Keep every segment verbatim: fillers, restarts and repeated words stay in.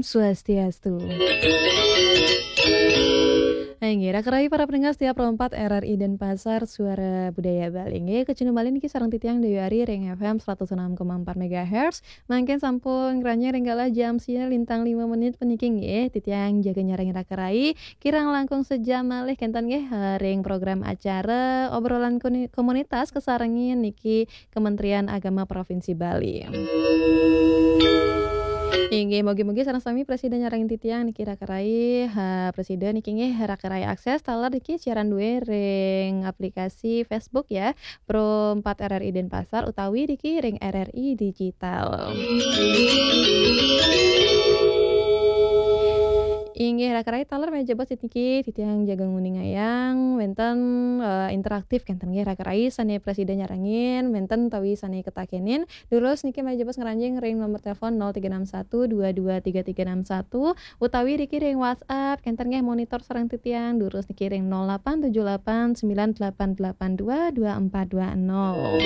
Swastiastu. Inggih, raka rayi para pendengar setia Pro empat R R I Denpasar, Suara Budaya Bali. Inggih, kacunduk malih niki sareng titiang Dewi Ari ring F M seratus enam koma empat megahertz. Mangkin sampun ngranjing ring galah jam siji lintang lima menit puniki nggih, titiang jaga nyarengin raka rayi. Kirang langkung sejam malih kenten nggih, eh, ring program acara obrolan kuni-, komunitas kasarengin niki Kementerian Agama Provinsi Bali. Inggih, mugi-mugi sareng sami prasida nyarengin titiang niki raka rayi, ha, prasida niki nggih raka rayi akses taler niki siaran duwe ring aplikasi Facebook ya, Pro empat R R I Denpasar utawi niki ring R R I Digital. Inggih, raka rayi taler malih jebos niki titiang jaga nguningayang wenten, eh, interaktif kenten nggih raka rayi sane prasida nyarengin wenten utawi sane ketakenin. Durus niki malih jebos ngranjing ring nomor telepon nol tiga enam satu dua dua tiga tiga enam satu utawi niki ring WhatsApp kenten nggih monitor sareng titiang durus niki ring nol delapan tujuh delapan sembilan delapan delapan dua dua empat dua nol.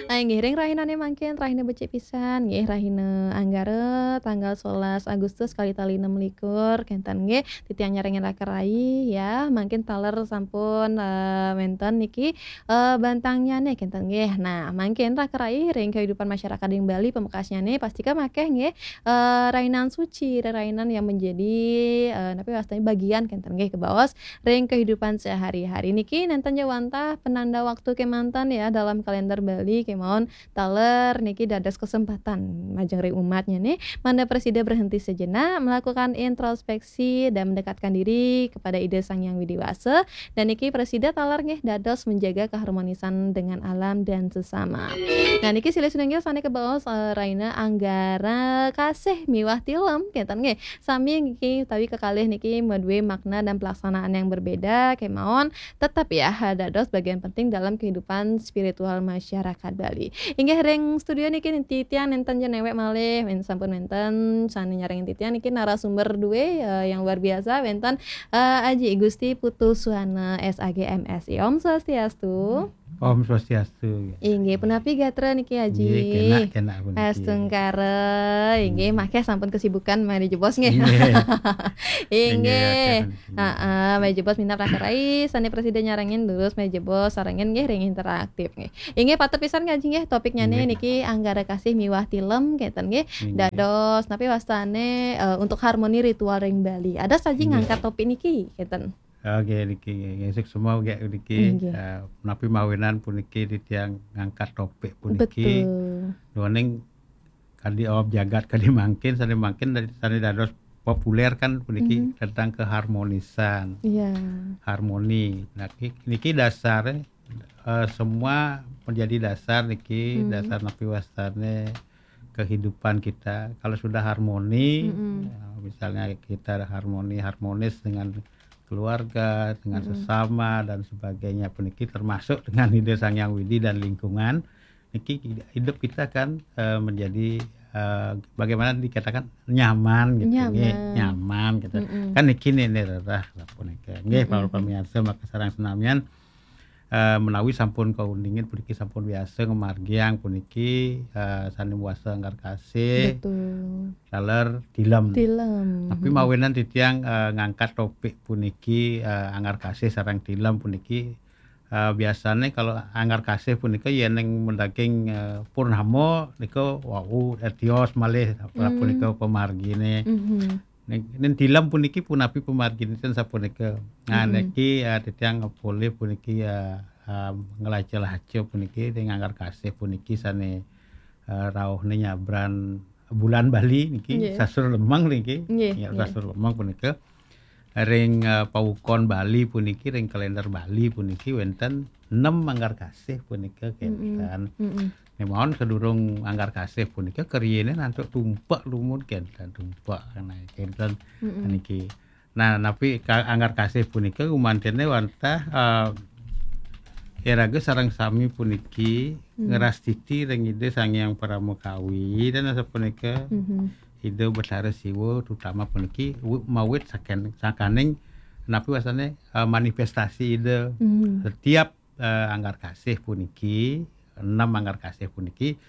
Nah, inggih ring rahinane mangkin rahina becik pisan nggih rahina Anggara tanggal sebelas Agustus kali tali enam likur kenten nggih titiang nyarengin raka rayi ya mangkin taler sampun, eh, wenten niki eh, bantangnyane kenten nggih. Nah, mangkin raka rayi ring kehidupan masyarakat ring Bali pamekasnyane pastika makeh nggih, eh, rainan suci, rainan yang menjadi, eh, napi wastane bagian kenten nggih kebaos ring kehidupan sehari-hari. Niki nenten ja wantah penanda waktu kemanten ya dalam kalender Bali kemawon taler niki dados kesempatan majeng ring umatnyane mangda prasida berhenti sejenak melakukan introspeksi dan mendekatkan diri kepada Ida Sang Hyang Widi Wasa. Dan niki prasida taler nggih dados menjaga keharmonisan dengan alam dan sesama. Nah, niki silih sinunggil sane kebaos, eh, raina Anggara Kasih miwah Tilem kenten nggih. Sami niki utawi kekalih niki madue makna dan pelaksanaan yang berbeda kemawon tetap ya dados bagian penting dalam kehidupan spiritual masyarakat Bali. Inggih ring studio niki titiang nenten ja newek malih, men sampun wenten sane nyarengin titiang niki narasumber duwe, eh, yang luar biasa wenten, eh, Aji Gusti Putu Suwana S A G M Si. Om Swastiastu. Om Swastiastu. Inggih, punapi gatra niki Aji? Inggih, kenak, kenak puniki. Astungkara. Inggih, hmm, makeh sampun kesibukan malih jebos nggih. Inggih. Inggih, inggih, makeh puniki. Heeh, malih jebos minab raka rayi sane prasida nyarengin durus malih jebos sarengin nggih ring interaktif nggih. Inggih patut pisan ngaji nggih topiknyane nggih niki Anggara Kasih miwah Tilem kenten nggih. Inggih. Dados napi wastane, eh, untuk harmoni ritual ring Bali. Ada saja inggih ngangkat topik niki kenten. Oke niki nggih suksma nggih niki, inggih, eh, napi mawinan puniki titiang ngangkat topik puniki. Betul. Duaning kadi awak jagat kadi mangkin sane mangkin dari sane dados populer kan puniki, mhm, tentang keharmonisan. Iya. Harmoni. Nah, ki-, niki dasar, eh, semua menjadi dasar niki, mhm, dasar napi wastane kehidupan kita. Kalau sudah harmoni, mm-mm, ya, misalnya kita harmoni, harmonis dengan keluarga, dengan, mm-mm, sesama dan sebagainya puniki termasuk dengan Ida Sang Hyang Widi dan lingkungan. Niki hidup kita kan, eh, menjadi, eh, bagaimana dikatakan nyaman gitu, nggih. Nyaman. Nyaman gitu. Mm-mm. Kan niki nih, nih rerah sapunika. Nggih, mm-mm, para pamirsa maka sareng senamian, eh, menawi sampun kauningin puniki sampun biasa ngamargiang puniki, eh, sane muasa Anggar Kasih. Betul. Taler Tilem. Tilem. Tapi, mm-mm, mawinan titiang, eh, ngangkat topik puniki, eh, Anggar Kasih sareng Tilem puniki. Eh, biasane kalau Anggar Kasih punika yen ing medaging, eh, purnama nika wau, eh, tios malih, hmm, punika pamargine. Mhm. Ning, ning Tilem puniki punapi pamarginipun sapunika? Nah, mm-mm, niki, eh, titiang polih puniki, eh, eh, nglaca-laca puniki ring Anggar Kasih puniki sane, eh, rauhne nyabran bulan Bali niki, nggih, sastra lemeng niki. Nggih, ya, nggih, sastra lemeng punika. Ring, eh, pawukon Bali puniki, ring kalender Bali puniki wenten enam Anggar Kasih punika, mm-mm, kenten. Mm-mm. Ning mawon sadurung Anggar Kasih punika kariyane antuk tumpek dumun kenten, tumpek, nah, kenten, mm-mm, niki. Nah, napi ka-, Anggar Kasih punika gumantene wantah, eh, iraga sareng sami puniki, hmm, ngrastiti ring Ida Sang Hyang Paramakawi dan sapunika, mhm, Ida Betara Siwa terutama puniki wi-, mawit saken-, sakaning napi wastane, eh, manifestasi Ida. Hmm. Setiap, eh, Anggar Kasih puniki, enam Anggar Kasih puniki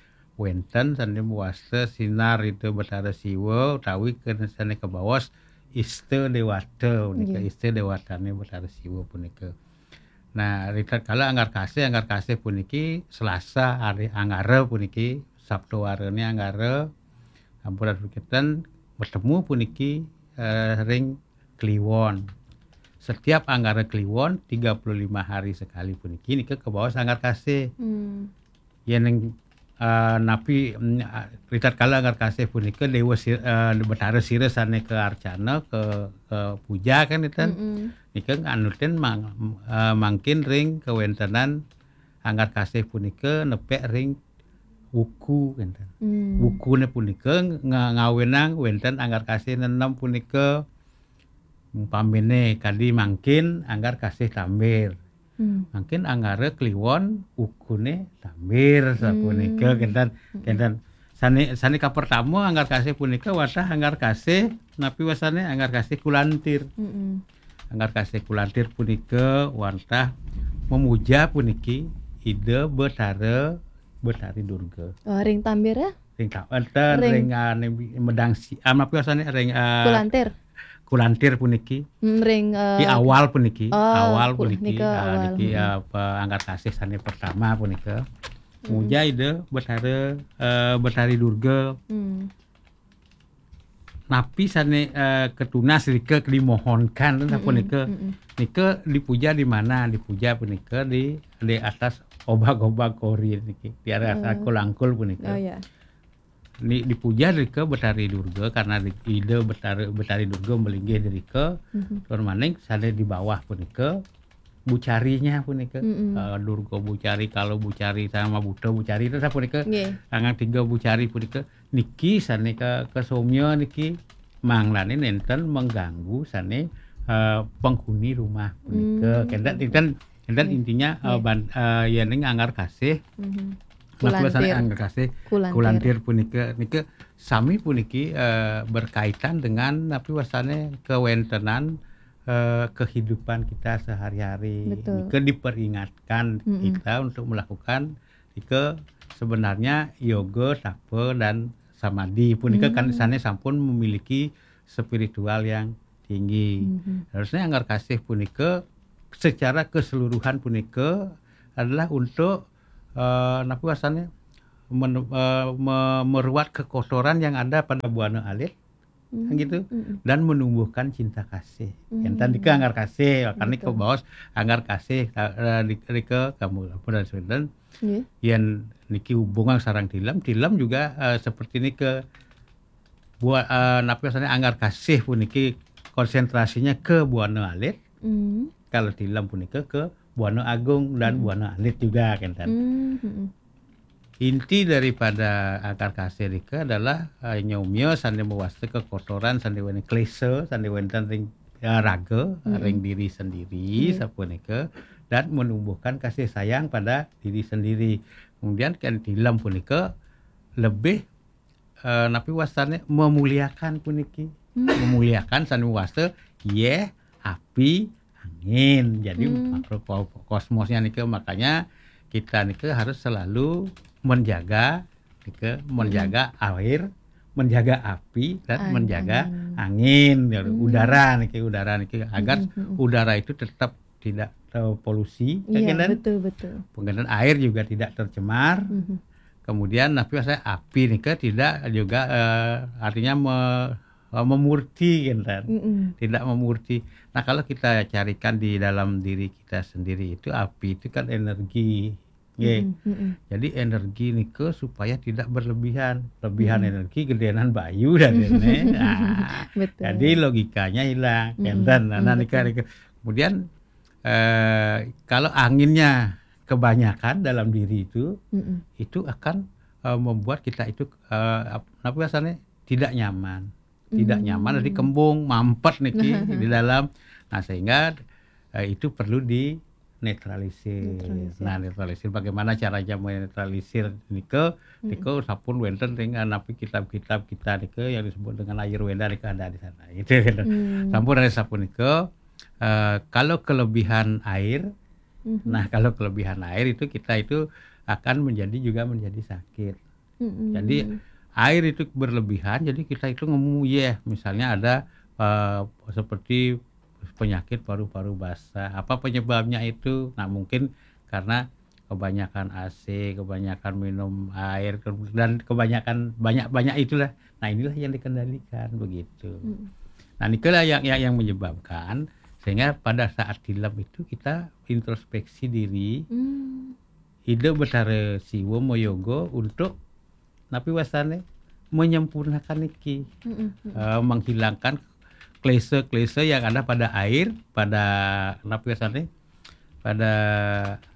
wénten sané mawasta sinar Ida Betara Siwa utawi ken sané kabaos Ista Déwata punika, Nggih. Ista Déwatané Betara Siwa punika. Nah, ritatkala Anggar Kasih, Anggar Kasih puniki Selasa hari Anggara puniki, Sabtu warene Anggara, sampun bertemu puniki, eh, ring Kliwon. Setiap Anggara Kliwon, tiga puluh lima hari sekali puniki, nika kabaos Anggar Kasih. Hmm. Yen ing, eh, napi, mm, ah, ritatkala Anggar Kasih punika Dewa Sir-, eh, Betara Sira sane kaarcana, ka, kapuja kan enten. Mm-mm. Nika nganutin mang-, eh, mangkin ring kawentenan Anggar Kasih punika nepek ring wuku enten. Hmm. Wukune punika nga-, ngawenang wenten Anggar Kasih nenem punika, umpamine kadi mangkin Anggar Kasih Tambir. Hmm. Mangkin Anggara Kliwon wukune Tambir sapunika. Hmm. Kenten, hmm, kenten. Sane, sane kapertama Anggar Kasih punika wantah Anggar Kasih, napi wasane, Anggar Kasih Kulantir. Mm-mm. Anggar Kasih Kulantir punika wantah memuja puniki Ida Betara, Betari Durga. Oh, ring Tambir ya? Ring Ta-, enten, ring, ring, ah, ning medang si-, ah, napi wasane, ring, ah, Kulantir. Kulantir puniki. Hmm, ring, eh, di awal puniki, oh, awal kul-, puniki, nika ah, awal. Niki, hmm, ah, pa-, Anggar Kasih sane pertama punika. Hmm. Muja Ida Betara, eh, Betari Durga. Hmm. Napi sane, eh, katunas rika dimohonkan, mm-mm, sapunika. Mm-mm. Nika dipuja di mana? Dipuja punika di, di atas obag-obag kori niki, di atas, oh, kulangkul punika. Oh, ya. Ni-, dipuja rika Betari Durga karena di-, Ida Betari, Betari Durga malinggih di rika, mhm, tur maning sane di bawah punika bucarinya punika. Mm-mm. Eh, Durga Bucari, Kala Bucari, sama Buta Bucari itu sapunika. Nggih. Anggang tiga bucari punika niki sane ka-, kasomya niki manglane nenten mengganggu sane, eh, penghuni rumah punika. Hmm. Kenten, kenten, kenten, nggih, intinya, eh, nggih, ban-, eh, yening Anggar Kasih. Mhm. Napi wasane Kulantir. Anggar Kasih, Kulantir. Kulantir punika, nika sami puniki, eh, berkaitan dengan napi wasane kewentenan, eh, kehidupan kita sehari-hari. Betul. Nika diperingatkan, mm-mm, kita untuk melakukan nika sebenarnya yoga, tapa, dan samadhi punika kan, mm, sane sampun memiliki spiritual yang tinggi. Mhm. Harusnya Anggar Kasih punika secara keseluruhan punika adalah untuk, eh, napi wasane, men-, eh, me-, meruat kekotoran yang ada pada buana alit, hmm, gitu, mm-mm, dan menumbuhkan cinta kasih. Hmm. Yang tadi ke Anggar Kasih, makanya, betul, kabaos Anggar Kasih, eh, di, di ke kamu, apa dan sebagainya. Nggih. Yen niki hubungan sareng tilem, tilem juga, eh, seperti ini ke bua-, eh, napi wasane, Anggar Kasih puniki konsentrasinya ke buana alit. Hmm. Kalau tilem punika ke buana agung dan, hmm, buana alit juga, kenten. Hmm, hmm. Inti daripada Anggar Kasih nika adalah, eh, nyomya sane mawasta kekotoran sane wene klesa, sane wenten ring, eh, raga, hmm, ring diri sendiri, hmm, sapunika, dan menumbuhkan kasih sayang pada diri sendiri. Kemudian kan tilem punika lebih, eh, napi wastane, memuliakan puniki. Hmm. Memuliakan sane wasta yeh, api, angin. Jadi, hmm, makro ko-, kosmosnya nika, makanya kita nika harus selalu menjaga nika, hmm, menjaga air, menjaga api, dan, ang-, menjaga angin, angin, ya, hmm, udara niki, udara niki, agar, hmm, hmm, hmm, udara itu tetap tidak terpolusi, ya, iya, kan? Betul, betul. Kemudian air juga tidak tercemar. Mhm. Kemudian, tapi saya api nika tidak juga, eh, artinya me-, eh, memurti, kan? Mm-mm. Tidak memurti. Nah, kalau kita carikan di dalam diri kita sendiri itu, api itu kan energi. Nggih. Mm-mm, mm-mm. Jadi energi nika supaya tidak berlebihan. Lebihan, mm-mm, energi gedenan bayu dan ini. Nah, betul, jadi logikanya hilang. Mm-mm, kenten. Nah, mm, nika, betul, nika. Kemudian, eh, kalau anginnya kebanyakan dalam diri itu, mm-mm, itu akan, eh, membuat kita itu, eh, ap-, apa biasanya, tidak nyaman. Tidak, hmm, nyaman, jadi kembung, mampet niki di dalam. Nah, sehingga, eh, itu perlu dinetralisir. Netralisir. Nah, netralisir, bagaimana caranya menetralisir nika? Hmm. Nika sampun wenten ring napi kitab-kitab kita nika yang disebut dengan Ayurveda nika ada di sana. Gitu, gitu. Hmm. Sampun ada sapunika, eh, kalau kelebihan air, mhm, nah, kalau kelebihan air itu kita itu akan menjadi, juga menjadi sakit. Mm-mm. Jadi air itu berlebihan, jadi kita itu ngemu, ya, misalnya ada eh, seperti penyakit paru-paru basah. Apa penyebabnya itu? Nah, mungkin karena kebanyakan A C, kebanyakan minum air, ke- dan kebanyakan banyak-banyak itulah. Nah, inilah yang dikendalikan begitu. Mm. Nah, nikalah yang yang, yang menyebabkan sehingga pada saat tilem itu kita introspeksi diri, Mm. Ida Betara Siwa mayoga untuk napi wasane menyempurnakan niki. Mm-mm. Mm-mm. Eh, menghilangkan klise-klise yang ada pada air, pada napi wasane, pada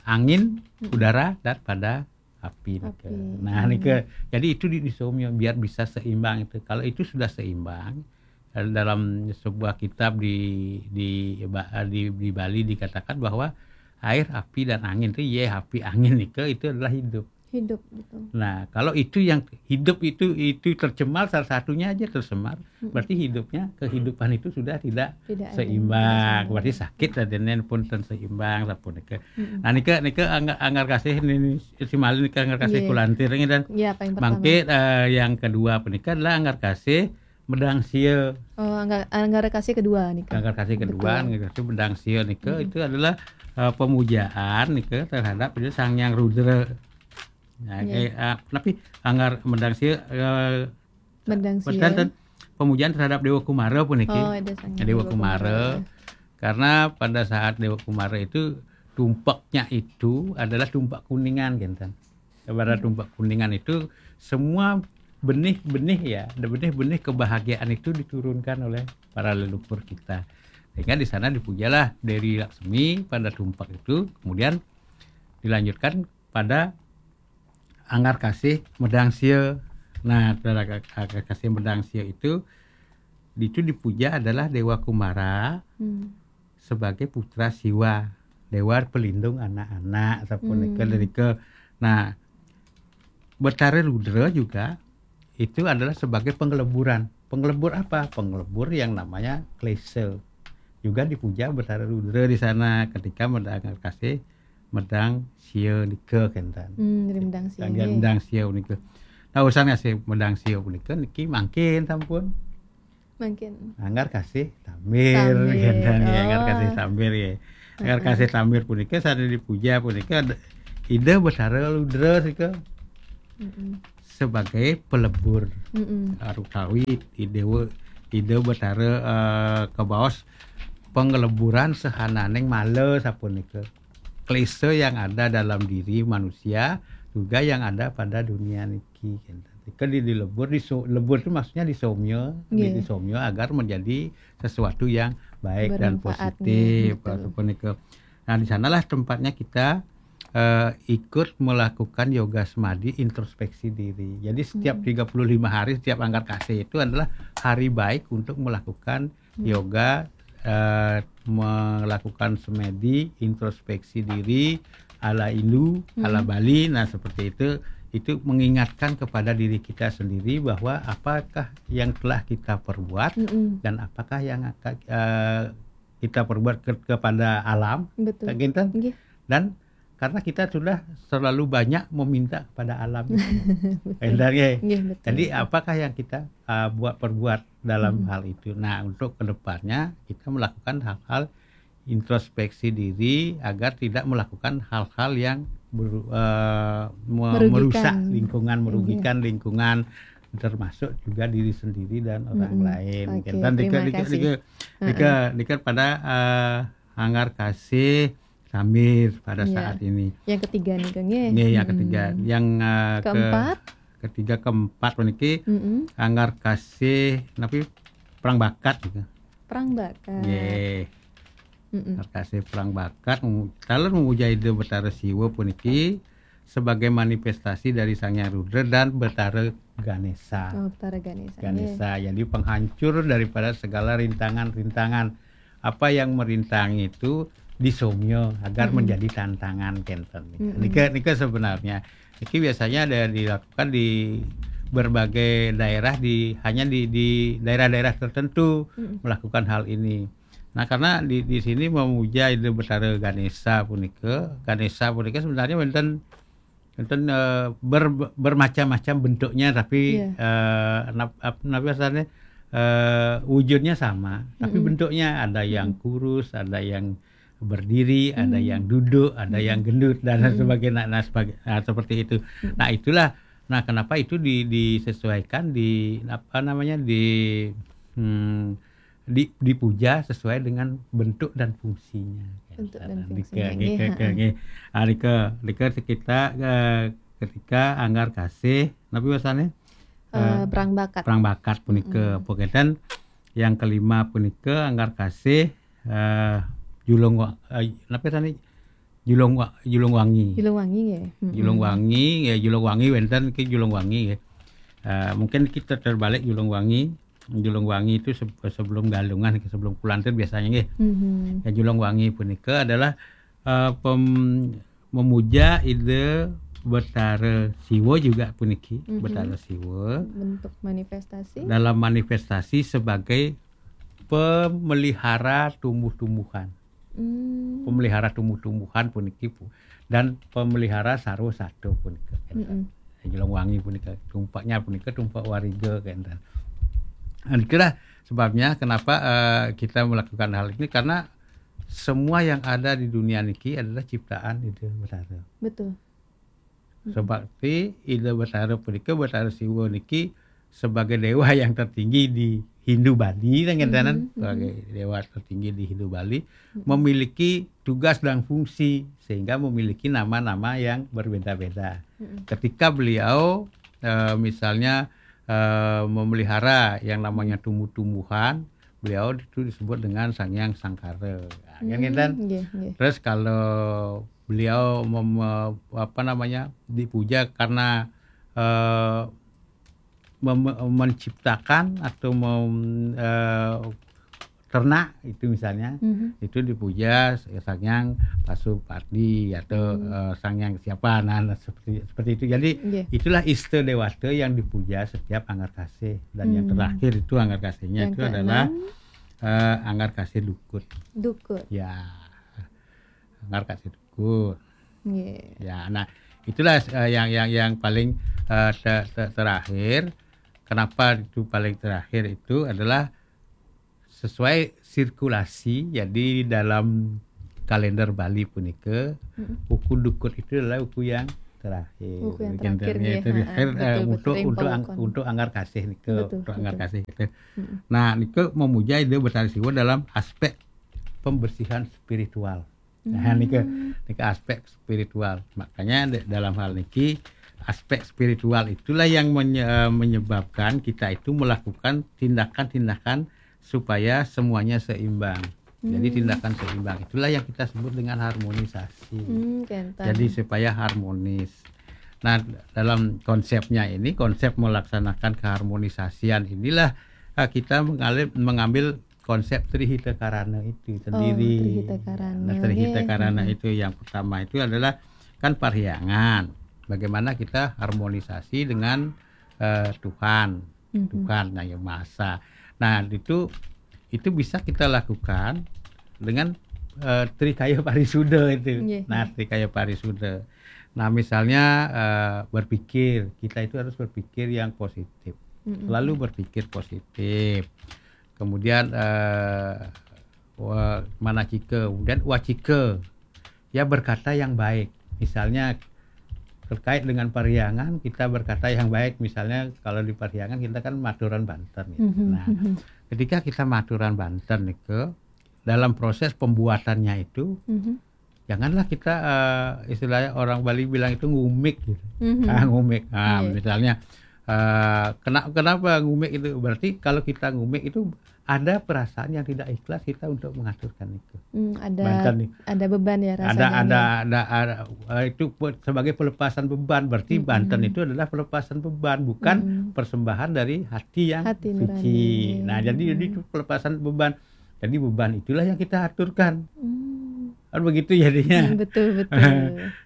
angin, Mm-mm. udara, dan pada api. Nika. Api. Nah, Hmm. nika. Jadi itu di, disomyo biar bisa seimbang itu. Kalau itu sudah seimbang, eh, dalam sebuah kitab di di ba- di, di Bali dikatakan bahwa air, api, dan angin itu, ye, api, angin nika itu adalah hidup. Hidup, betul. Nah, kalau itu yang hidup itu itu tercemar, salah satunya aja tercemar, Mm-mm. berarti hidupnya, kehidupan itu sudah tidak Tidak ada. seimbang. Tidak Berarti seimbang. Sakit dan lain pun ten seimbang, sapunika. Mm-mm. Nah, nika nika anggar, anggar kasih ini, ini, si Malin nika anggar kasih Iya. Kulantir ini dan Ya, paling pertama. Mangke, eh, yang kedua punika adalah anggar kasih medang sia. Oh, anggar, anggar kasih kedua nih, Kak. Anggar kasih kedua, Betul. anggar kasih medang sia nika Mm-mm. itu adalah eh, pemujaan nika terhadap Sang Yang Rudra. Nah, Iya. eh, eh, tapi anggar medang sia, eh, Medang sia. Benten, pemujaan terhadap Dewa Kumara puniki. Oh, ada Sang Dewa Kumara. Karena pada saat Dewa Kumara itu tumpaknya itu adalah tumpak kuningan, kenten. Pada Hmm. tumpak kuningan itu semua benih-benih, ya, benih-benih kebahagiaan itu diturunkan oleh para leluhur kita. Sehingga di sana dipujalah Dewi Laksmi pada tumpak itu, kemudian dilanjutkan pada anggar kasih medang sia. Nah, pada anggar kasih medang sia itu itu dipuja adalah Dewa Kumara Hmm. sebagai putra Siwa, dewa pelindung anak-anak, sapunika Hmm. Derika. Nah, Betara Rudra juga itu adalah sebagai pengeleburan. Pengelebur apa? Pengelebur yang namanya klise. Juga dipuja Betara Rudra di sana ketika medang kasih medang sia nika, kenten. Hmm, dari medang sia. Yang dia Nggih. Medang sia nika. Nah, urusan kasih medang sia punika niki mangkin sampun. Mangkin. Anggar kasih tambir, Tambir. Kenten, ya, anggar Oh. Kasih tambir, ya. Anggar Heeh. Kasih tambir punika sané dipuja punika ada Ida Betara Rudra sika Mm-mm. sebagai pelebur. Mm-mm. Utawi Ida Ida Betara, eh, kabaos pengeleburan sahananing mala sapunika. Klise yang ada dalam diri manusia juga yang ada pada dunia niki, kenten. Nika di, dilebur, diso-, lebur itu maksudnya disomya, di, Nggih. Disomya agar menjadi sesuatu yang baik dan Bermanfaat, positif, nggih, betul. Sapunika. Nah, di sanalah tempatnya kita eh, ikut melakukan yoga semadi introspeksi diri. Jadi setiap Hmm. tiga puluh lima hari, setiap anggar kasih itu adalah hari baik untuk melakukan Hmm. yoga, eh, melakukan semedi introspeksi diri ala Hindu, ala Hmm. Bali. Nah, seperti itu, itu mengingatkan kepada diri kita sendiri bahwa apakah yang telah kita perbuat Mm-mm. dan apakah yang akan, eh, kita perbuat ke- kepada alam, Betul. tak kinten? Nggih. Dan karena kita sudah terlalu banyak meminta kepada alam itu. Kenten, ya. Nggih, betul. Jadi apakah yang kita uh, buat perbuat dalam Hmm. hal itu? Nah, untuk kedepannya kita melakukan hal-hal introspeksi diri agar tidak melakukan hal-hal yang beru- eh, me- Merugikan. Merusak lingkungan, Iya. Merugikan lingkungan, termasuk juga diri sendiri dan orang Mm-mm. lain. Oke, Dan terima dika- dika- kasih. dika- Heeh. dika- dika pada eh, anggar kasih sambil pada Iya. Saat ini. Yang ketiga nih, Kang, nggih. Nggih, yang Mm-mm. Ketiga, yang eh, ke- Keempat? Ketiga, keempat puniki Mm-mm. anggar kasih napi perang bakat gitu. Perang bakat. Nggih. Mm-mm. Anggar kasih perang bakat, mem- kalau memuja Ida Betara Siwa puniki sebagai manifestasi dari Sang Hyang Rudra dan Betara Ganesha. Oh, Betara Ganesha. Nggih. Ganesha. Jadi penghancur daripada segala rintangan-rintangan. Apa yang merintangi itu disomya agar Mm-mm. Menjadi tantangan, kenten. Mm-mm. Nika, nika sebenarnya. Niki biasanya ada dilakukan di berbagai daerah, di hanya di, di daerah-daerah tertentu Mm-mm. Melakukan hal ini. Nah, karena di, di sini memuja Ida Betara Ganesha punika, Ganesha punika sebenarnya wonten Enten, eh, ber-, bermacam-macam bentuknya, tapi, Iya. eh, nap-, ap-, napa asané, eh, wujudnya sama, tapi Mm-mm. bentuknya ada yang Mm-mm. kurus, ada yang berdiri, ada Hmm. yang duduk, ada yang Hmm. gendut, dan lain Hmm. sebagainya. Nah, sebagai, nah, seperti itu. Hmm. Nah, itulah, nah, kenapa itu di-, disesuaikan di, apa namanya, di, hmm, di-, dipuja sesuai dengan bentuk dan fungsinya. Bentuk dan Nah, fungsinya, nggih, nggih, heeh. nggih. Ah, nggih. Ah, nggih, sekitar, eh, ketika anggar kasih, napa asané? Eh, Eh, perang bakat. Perang bakat punika. Mm-mm. Pokoknya yang kelima punika anggar kasih, eh, julung wa-, eh, napa tadi? Julung wa-, julung wangi. Julung wangi, nggih. Mm-mm. Julung wangi, ya, julung wangi wénten ki julung wangi, ya. Eh, mungkin kita terbalik julung wangi. Julung wangi itu se-, sebelum Galungan, sebelum Kulon Progo biasanya, nggih. Mhm. Ya, julung wangi punika adalah, eh, pem-, memuja Ida Betara Siwa juga puniki, Mhm. Betara Siwa. Bentuk manifestasi. Dalam manifestasi sebagai pemelihara tumbuh-tumbuhan. Hmm. Pemelihara tumbuh-tumbuhan puniki pu-, dan pemelihara sarwa sato punika, kénten. Mm-mm. Julung wangi punika, tumpaknya punika tumpak wariga, kénten. Dan itulah sebabnya kenapa, eh, kita melakukan hal ini, karena semua yang ada di dunia niki adalah ciptaan Ida Betara. Betul. Mm-mm. Seperti Ida Betara punika, Betara Siwa niki sebagai dewa yang tertinggi di Hindu Bali, kan, kénten, Mhm, mhm. sebagai dewa tertinggi di Hindu Bali, Mm-mm. memiliki tugas dan fungsi, sehingga memiliki nama-nama yang berbeda-beda. Mm-mm. Ketika beliau, eh, misalnya, eh, memelihara yang namanya tumbuh-tumbuhan, beliau itu disebut dengan Sang Hyang Sangkara. Nah, kan, Hmm, kénten? Nggih, nggih. Terus kalau beliau mem-, apa namanya, dipuja karena, eh, mem-, menciptakan atau mem-, eh, ternak itu misalnya, Mhm. itu dipuja Sang Hyang Pasupati atau, Hmm. eh, Sang Hyang siapa, nah, nah, seperti, seperti itu. Jadi, Nggih. itulah ista dewata yang dipuja setiap anggar kasih. Dan yang Hmm. terakhir itu anggar kasihnya Yang itu adalah, keenam. eh, anggar kasih dukut. Dukut. Ya, anggar kasih dukut. Nggih. Ya, nah, itulah, eh, yang, yang, yang paling, eh, te-, te-, terakhir. Kenapa itu paling terakhir itu adalah sesuai sirkulasi. Jadi, dalam kalender Bali punika, Mm-mm. uku dukut itu adalah uku yang terakhir. Uku yang Kalender terakhir, nggih. Terakhir, Ha, eh, betul, betul. Untuk, untuk ang-, Rimpaukan. Untuk anggar kasih nika, Betul, untuk anggar betul. kasih nika. Mm-mm. Nah, nika memuja Ida Betara Siwa dalam aspek pembersihan spiritual. Nah, Hmm. nika, nika aspek spiritual. Makanya de-, dalam hal niki, aspek spiritual itulah yang menye-, eh, menyebabkan kita itu melakukan tindakan-tindakan supaya semuanya seimbang. Jadi, Hmm. tindakan seimbang itulah yang kita sebut dengan harmonisasi. Hmm, kénten. Jadi, supaya harmonis. Nah, dalam konsepnya ini, konsep melaksanakan keharmonisasian inilah, eh, kita mengalih-, mengambil konsep Tri Hita Karana itu Oh, sendiri. Tri Hita Karana, Nah, Tri Hita nggih. Karana Mm-mm. itu yang pertama itu adalah kan parhyangan. Bagaimana kita harmonisasi dengan, eh, Tuhan, Mm-mm. Tuhan yang Maha Esa. Nah, itu, itu bisa kita lakukan dengan, eh, Trikaya Parisuda itu. Nggih, Nah, nggih. Trikaya Parisuda. Nah, misalnya, eh, berpikir, kita itu harus berpikir yang positif. Mm-mm. Selalu berpikir positif. Kemudian, eh, wa-, manacika, kemudian wacika. Ya, berkata yang baik. Misalnya, terkait dengan parhyangan, kita berkata yang baik. Misalnya, kalau di parhyangan, kita kan maturan banten, gitu. Mhm, Nah, mhm. ketika kita maturan banten nika, dalam proses pembuatannya itu, Mhm. janganlah kita, eh, istilahnya orang Bali bilang itu ngumik, gitu. Mhm. Ah, ngumik. Ah, Iya. misalnya, eh, kena-, kenapa ngumik itu? Berarti kalau kita ngumik itu ada perasaan yang tidak ikhlas kita untuk mengaturkan itu. Hmm, ada, Banten nih. ada beban ya Ada, rasanya ada, nih. ada, ada, eh, itu pe-, sebagai pelepasan beban. Berarti Mm-mm. Banten itu adalah pelepasan beban, bukan Mm-mm. persembahan dari hati yang Hati suci. nurani. Nah, jadi, jadi Hmm. itu pelepasan beban. Jadi beban itulah yang kita aturkan. Hmm. Kan begitu jadinya. Hmm, betul, betul.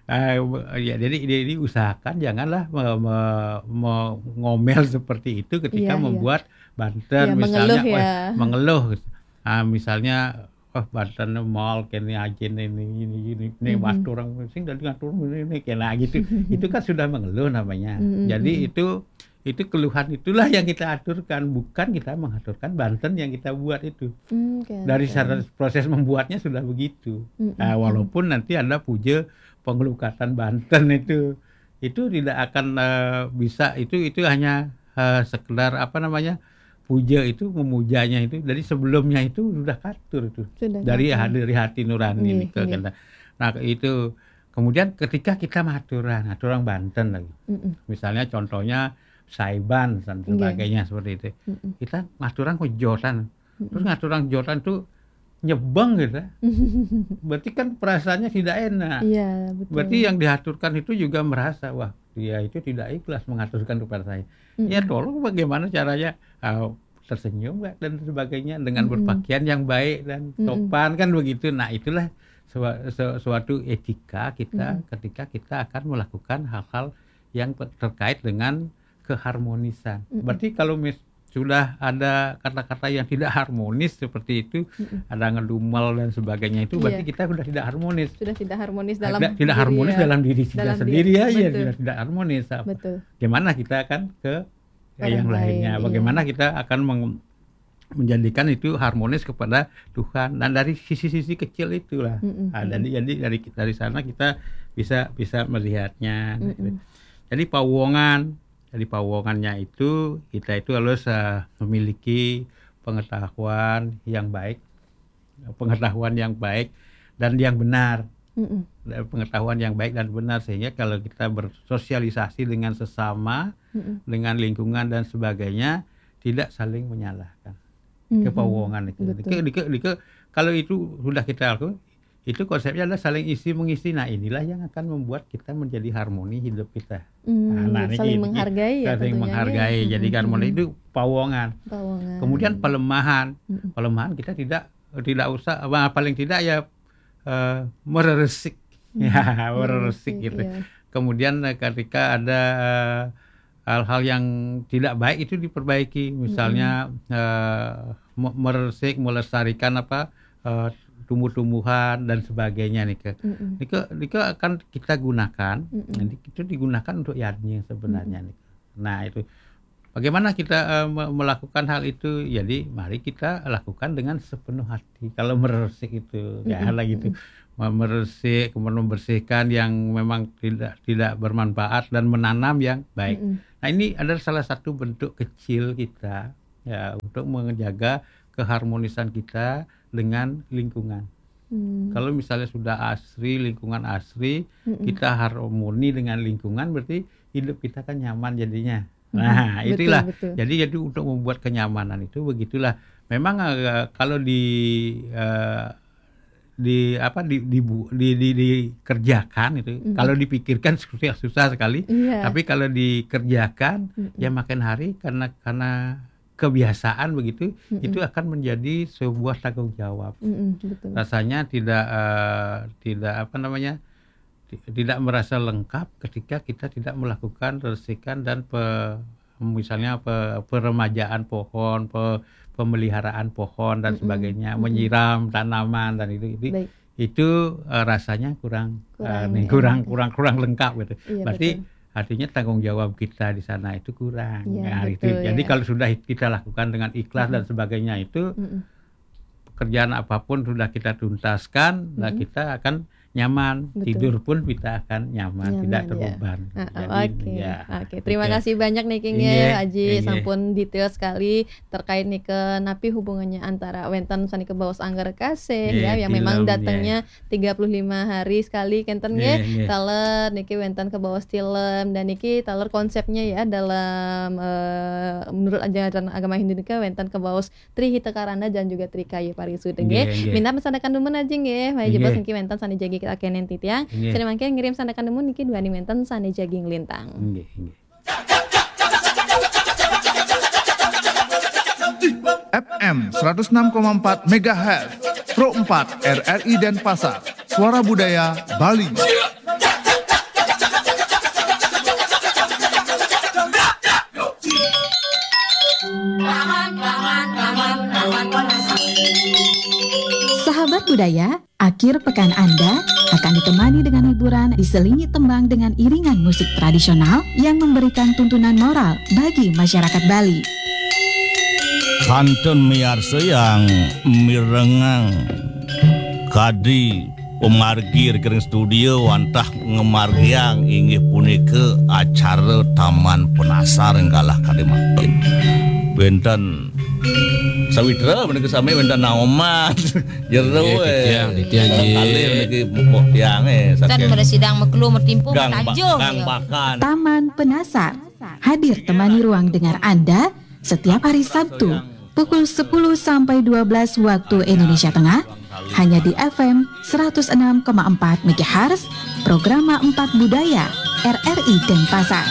Ah, be-, ya, jadi, jadi usahakan janganlah me-, me-, me-, ngomel seperti itu ketika Iya, iya. membuat banten, Iya, misalnya, mengeluh, wah, ya. mengeluh. Ah, misalnya, Oh, Banten mall kene aja nih, ini, ini, ini, ini, hmm, aturang sing dari ngatur ini, ini kena gitu. Itu kan sudah mengeluh namanya. Hmm. Jadi itu itu keluhan itulah yang kita aturkan, bukan kita mengaturkan Banten yang kita buat itu. Hmm, okay, dari okay. Proses membuatnya sudah begitu. Hmm. Nah, walaupun nanti ada puja pengelukatan Banten itu, itu tidak akan uh, bisa, itu itu hanya uh, sekedar apa namanya, puja itu, memujanya itu dari sebelumnya itu sudah katur itu, sudah dari katur. Dari hati nurani. Iya, nih ke iya. Nah, itu kemudian ketika kita maturan, maturan Banten lagi, mm-mm, misalnya contohnya Saiban dan sebagainya, iya, seperti itu, mm-mm, kita maturan kok jotan, terus ngaturang jotan tuh nyebeng gitu. Berarti kan perasaannya tidak enak. Iya, betul. Berarti yang diaturkan itu juga merasa, wah, dia itu tidak ikhlas mengaturkan kepada saya. Mm-mm. Ya tolong, bagaimana caranya uh, tersenyum nggak dan sebagainya dengan, mm-mm, berpakaian yang baik dan, mm-mm, sopan kan begitu. Nah, itulah suatu etika kita, mm-mm, ketika kita akan melakukan hal-hal yang terkait dengan keharmonisan. Mm-mm. Berarti kalau mis sudah ada kata-kata yang tidak harmonis seperti itu, mm-mm, ada ngedumel dan sebagainya itu, iya, berarti kita sudah tidak harmonis. Sudah tidak harmonis dalam tidak, tidak diri, harmonis ya, dalam diri kita dalam sendiri diri, ya, ya, betul, sudah tidak harmonis. Betul. Bagaimana kita akan ke yang lainnya? Orang lain, iya. Bagaimana kita akan meng, menjadikan itu harmonis kepada Tuhan dan dari sisi-sisi kecil itulah. Mm-mm. Nah, jadi jadi dari dari sana kita bisa bisa melihatnya. Mm-mm. Jadi pawongan, jadi pawongannya itu kita itu harus uh, memiliki pengetahuan yang baik, pengetahuan yang baik dan yang benar. Mm-mm. Pengetahuan yang baik dan benar, sehingga kalau kita bersosialisasi dengan sesama, mm-mm, dengan lingkungan dan sebagainya, tidak saling menyalahkan. Mm-mm. Kepawongan itu. Betul. Dike, dike, dike, kalau itu sudah kita lakukan, itu konsepnya adalah saling isi mengisi. Nah, inilah yang akan membuat kita menjadi harmoni hidup kita. Hmm, nah, nah, saling ini, menghargai ya, saling menghargai. Jadi harmoni itu pawongan. Pawongan. Kemudian pelemahan. Mm-mm. Pelemahan kita tidak tidak usah, paling tidak ya uh, mereresik. Hmm. Ya, mereresik gitu. Iya. Kemudian eh, ketika ada eh, hal-hal yang tidak baik itu diperbaiki, misalnya mm-hmm. eh, me- mereresik, melestarikan apa eh, tumbuh-tumbuhan dan sebagainya nih ke. Mm-mm. Nika, nika akan kita gunakan, mm-mm. Nanti itu digunakan untuk yadnya sebenarnya, mm-mm. Nih. Nah, itu bagaimana kita uh, melakukan hal itu? Jadi mari kita lakukan dengan sepenuh hati. Kalau meresik itu, mm-mm. Ya, gitu. Meresik, kemudian membersihkan yang memang tidak tidak bermanfaat dan menanam yang baik. Mm-mm. Nah, ini adalah salah satu bentuk kecil kita ya untuk menjaga keharmonisan kita dengan lingkungan. Hmm. Kalau misalnya sudah asri, lingkungan asri, mm-mm. Kita harmoni dengan lingkungan, berarti hidup kita kan nyaman jadinya. Nah, betul, itulah. Betul. Jadi, jadi untuk membuat kenyamanan itu begitulah. Memang uh, kalau di uh, di apa di, di, di, di dikerjakan itu, mm-hmm. Kalau dipikirkan susah, susah sekali. Iya. Tapi kalau dikerjakan, mm-hmm. Ya makin hari karena karena kebiasaan begitu, mm-hmm. Itu akan menjadi sebuah tanggung jawab. Mm-hmm, betul. Rasanya tidak uh, tidak apa namanya tidak merasa lengkap ketika kita tidak melakukan resikan dan pe, misalnya pe, peremajaan pohon, pe, pemeliharaan pohon dan mm-mm. Sebagainya, mm-mm. Menyiram tanaman dan itu itu, itu uh, rasanya kurang kurang, uh, kurang kurang kurang lengkap gitu. Iya, berarti betul. Artinya tanggung jawab kita di sana itu kurang. Ya, nah, betul, itu. Jadi ya. Kalau sudah kita lakukan dengan ikhlas mm-mm. Dan sebagainya itu mm-mm. Pekerjaan apapun sudah kita tuntaskan, mm-mm. Nah kita akan nyaman, betul. Tidur pun kita akan nyaman, nyaman tidak terbeban. Ya. Uh, jadi, oke. Ya. Oke, terima kasih banyak nih King ya, Aji sampun detail sekali terkait nih ke napi hubungannya antara wénten sani ke baos angger kasih ya, yang memang datangnya tiga puluh lima hari sekali kenten ya. Taler niki wénten ke baos tilem dan niki taler konsepnya ya dalam uh, menurut ajaran agama Hindu niki wénten ke baos Tri Hita Karana dan juga Tri Kayu Parisuda nggih. Minta sandakan dumun Aji nggih. Maya jebos niki wénten sani jagi kita kenen titiang. Sani mangke ngirim sandakan dumun niki duani wénten sani jagi nglintang. Nggih, nggih. F M seratus enam koma empat megahertz, Pro empat R R I Denpasar, Suara Budaya Bali. Sahabat budaya, akhir pekan Anda akan ditemani dengan hiburan diselingi tembang dengan iringan musik tradisional yang memberikan tuntunan moral bagi masyarakat Bali. Kantun miarsa yang mirengang kadi pemargi ring studio wantah ngamargiang inggih punika acara Taman Penasar galah kadi mangkin. Wenten sawitra menika sami, wenten naoman. Jero, nggih, eh. Titiang, titiang, nggih. Kalih niki mupuk tiang, eh, kan saking mara sidang makelo matimpuh gang ba-, matanjung, gang ya. Bakan. Taman Penasar hadir temani ruang dengar Anda setiap hari Sabtu pukul sepuluh sampai dua belas waktu Indonesia Tengah, hanya di F M seratus enam koma empat megahertz, Programa empat Budaya, R R I Denpasar.